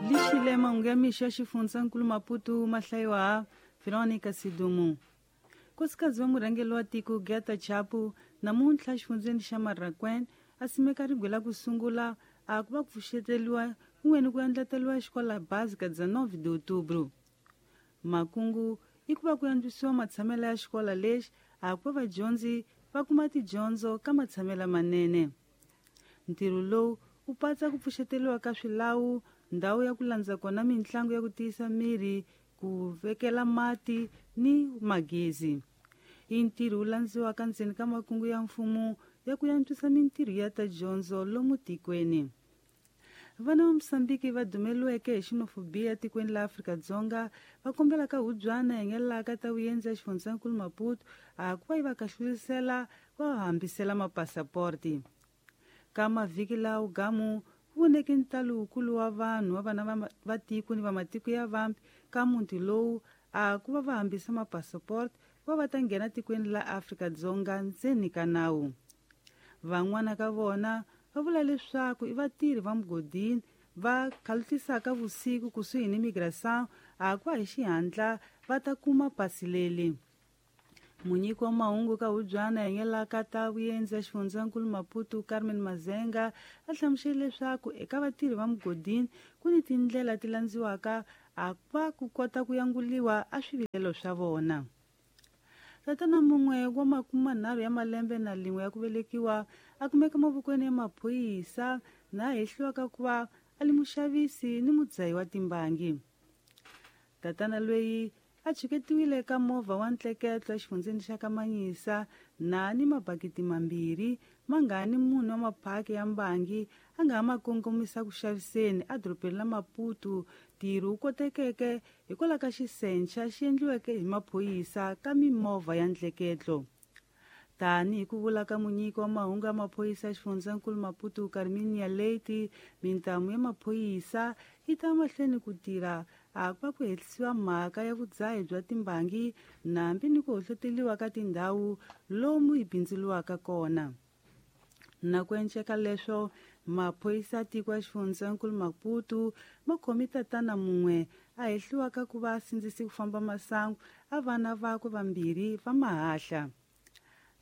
Lixile mahungu ya mixo ya xifundzankulu Maputo ma hlayiwa Veronica Sidumo. Nkosikazi wa murhangeri wa tiko Geta Chapu namuntlha exifundzeni xa Marraquin a simeka ribye la ku sungula a ku va ku pfuxeteliwa kun'we ni ku endleteriwa xikola básica 19 de outubro. Makungu i ku va ku antswisiwa matshamelo ya xikola lexi a ku va vadyondzi va kuma tidyondzo ka matshamelo manene. Ntirho lowu wu patsa ku pfuxeteliwa ka swilawu, ndhawu ya ku landza kona mitlangu ya ku tiyisa miri, ku vekela mati ni magezi. I ntirho wu landziwaka ndzeni ka makungu ya mfumo ya ku antswisa mintirho ya ta dyondzo lomu tikweni. Vana va Mosambiki va dumeliweke hi xenophobia tikweni la Afrika-Dzonga va kombela ka hubyana yi nga ka ta vuendzi ya xifundzankulu Maputo a ku va yi va kahlulisela va hambisela mapasaporti. Ka mavhiki lawo gamu ku voneke ntalo wukulu wa vanhu wa vana va tiko ni va matiko ya vambi ka muti lowu a ku va va hambisa mapasaporti va va ta nghena tikweni la Afrika-Dzonga ndzeni ka nawu. Van'wana ka vona va vula leswaku i vatirhi va mugodini va khalutisaka vusiku kusuhi ni migração a ku va hi xihatla va ta kuma pasi leli. Munyiki wa mahungu ka hubyana hi nga ka ta vuendzi ya xifundzankulu Maputo Carmen Mazenga a hlamusele leswaku eka vatirhi va mugodini ku ni tindlela ti landziwaka a va ku kota ku yanguliwa a swivilelo swa vona. Tatana mun'we wa 30 ya malembe na lin'we ya ku velekiwa a kumeka mavokweni ya maphorisa na hehliwaka ku va a li muxavisi ni mudzahi wa timbangi. Tatana loyi a chiketiwile ka movha wa ntleketlo exifundzeni xa Kamanyisa na ni mabakiti mambirhi ma nga ni munhu wa maphaki ya mbangi a nga ha ma kongomisa ku xaviseni edorobeni la Maputo. Ntirho wu kotekeke hikwalaho ka xisencha xi endliweke hi maphorisa ka mimovha ya ntleketlo. Tanihi ku vula ka munyiki wa mahungu ya maphorisa ya xifundzankulu Maputo Carminia Leite, mintamu ya maphorisa yi ta mahlweni ku tirha a ku va ku hehlisiwa mhaka ya vudzahi bya timbangi nambi ni ku hohloteliwa ka tindhawu lomu yi bindzuriwaka kona. Na ku enceka leswo, maphorisa ya tiko ya xifundzankulu Maputo ma khomi tatana mun'we a hehliwaka ku va a sindzise ku famba masangu a vana vakwe vambirhi va mahahla.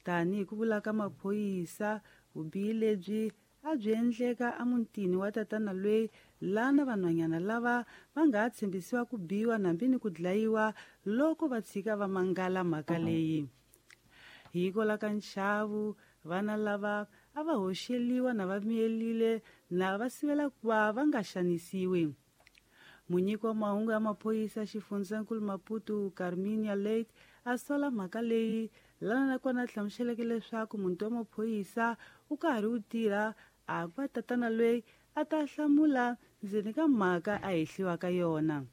Tanihi ku vula ka maphorisa, vubihi lebyi a byi endleka emutini wa tatana loyi lana vanhwanyana lava va nga ha tshembisiwa ku biwa nambi ni ku dlayiwa loko va tshika va mangala mhaka leyi. Hikwalaho ka nxavo, vana lava a va hoxeliwa na va miyelile na va sivela ku va va nga xanisiwi. Munyiki wa mahungu ya maphorisa xifundzankulu Maputo Carminia Leite a sola mhaka leyi lana nakona a hlamuseleke leswaku muti wa maphorisa wu karhi wu tirha a ku va tatana loyi a ta hlamula ndzeni ka mhaka a hehliwaka yona.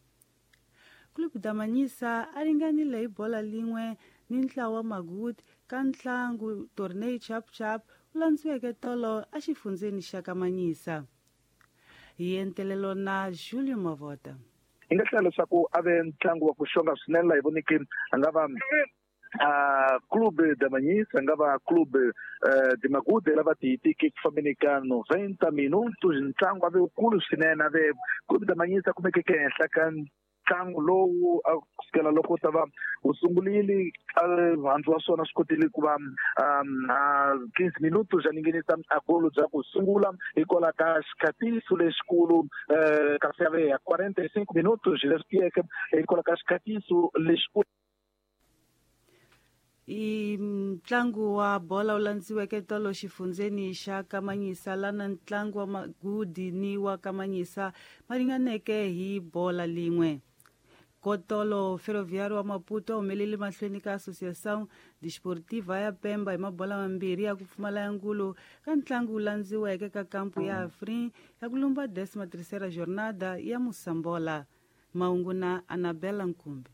Clube da Manhisa a ringanile hi bola lin'we ni ntlawa wa Maguti ka ntlangu Torneio Chap Chap wu landziweke tolo exifundzeni xa Kamanyisa. Hi entelelo na Julio Mavota. Hi nga hlaya leswaku a ve ntlangu wa ku xonga swinene laha hi voneke a nga va Clube da Manhisa, a nga va Clube de Magude lava ti hitiki ku fambeni ka 90 minutos. Ntlangu a ve wukulu swinene, a ve Clube da Manhisa kumekeke ehenhla ka ntlangu lowu a kusukela loko ta va wu sungurile handzu wa swona swi kotile ku va 15 minutos ya ninginisa a golo bya ku sungula hikwalaho ka xikhatiso lexikulu kasi ya ve ya 45 minutos leswi tiyeke hikwalaho ka xikhatiso lexikulu. I ntlangu wa bola wu landziweke tolo xifundzeni xa Kamanyisa lana ntlangu wa Magudi ni wa Kamanyisa ma ringaneke hi bola lin'we. Kotolo Ferroviário wa Maputo a humelele mahlweni ka Associação Desportiva ya Pemba hi mabola mambirhi ya ku pfumala ya ngulu ka ntlangu wu landziweke ka kampu ya Afrin ya ku lumba 13ª jornada ya Mosambola. Mahungu na Anabela Nkumbi.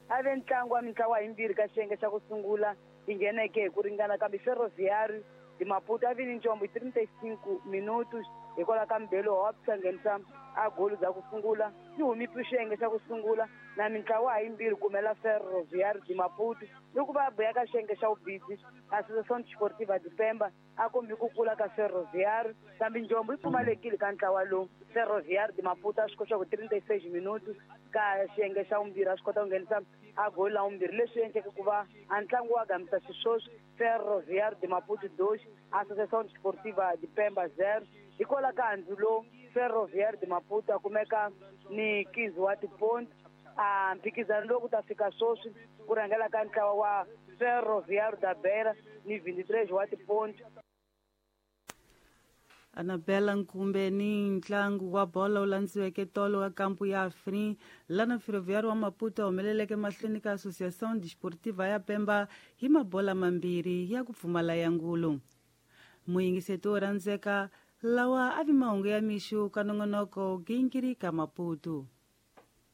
A ve ntlangu wa mintlawa yimbirhi ka xiyenge xa ku sungula yi ngheneke hi ku ringana, kambe Ferroviário de Maputo a vi ni ncombo hi 35 minutos. Hikwalaho ka Mbelo Hops a nghenisa a golo bya ku sungula yi humipi xiyenge xa ku sungula na mintlawa yimbirhi kumela Ferroviário de Maputo loko va buya ka xiyenge xa vubisi Associação Desportiva de Pemba a kombi ku kula ka Ferroviário kambe njombo yi pfumalekile ka ntlawa lowu. Ferroviário de Maputo a swi kota ku 36 minutos ka xiyenge xa vumbirhi a swi kota ku nghenisa a golo la vumbirhi leswi endleke ku va a ntlangu wa gamisa xisweswi Ferroviário de Maputo 2 Associação Desportiva de Pemba 0. Hikwalaho ka handzu lowu Ferroviário de Maputo a kumeka ni 15 wa tiponti a mphikizano lowu ku ta fika sweswi ku rhangela ka ntlawa wa Ferroviário da Beira ni 23 wa tiponti. Anabela Nkumbe ni ntlangu wa bolo wu landziweke tolo wa kampu ya Afrin lana Ferroviário wa Maputo a humeleleke mahlweni ka Associação Desportiva ya Pemba hi mabola mambirhi ya ku pfumala ya ngulu. Muyingiseti wo rhandzeka lawa a vi mahungu ya mixo ka nongonoko gingiri ka Maputo.